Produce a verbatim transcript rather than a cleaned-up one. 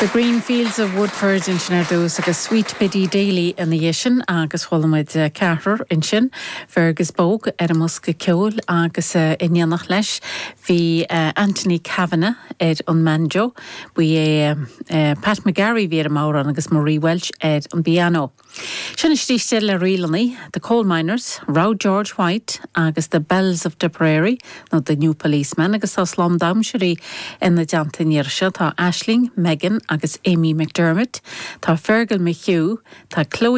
The Green Fields of Woodford ansin ar dtús agus Sweet Biddy Daly ina dhiaidh sin agus chuala muid ceathrar ansin Fergus Bogue ar an mbosca ceoil agus in éineacht leis bhí Anthony Kavanagh ar an mbanjo, bhí é Pat McGarry bhí ar an mbodhrán agus Marie Welsh ar an bpianó. Sin istíiste le rílannaí, The Coal Miners, Row George White agus The Bells of Tipperary nó The New Policeman agus tá slám damhsóirí ina dteannta seo tá Ashling, Megan agus Amy McDermott, tá Fergal McHugh, tá Chloe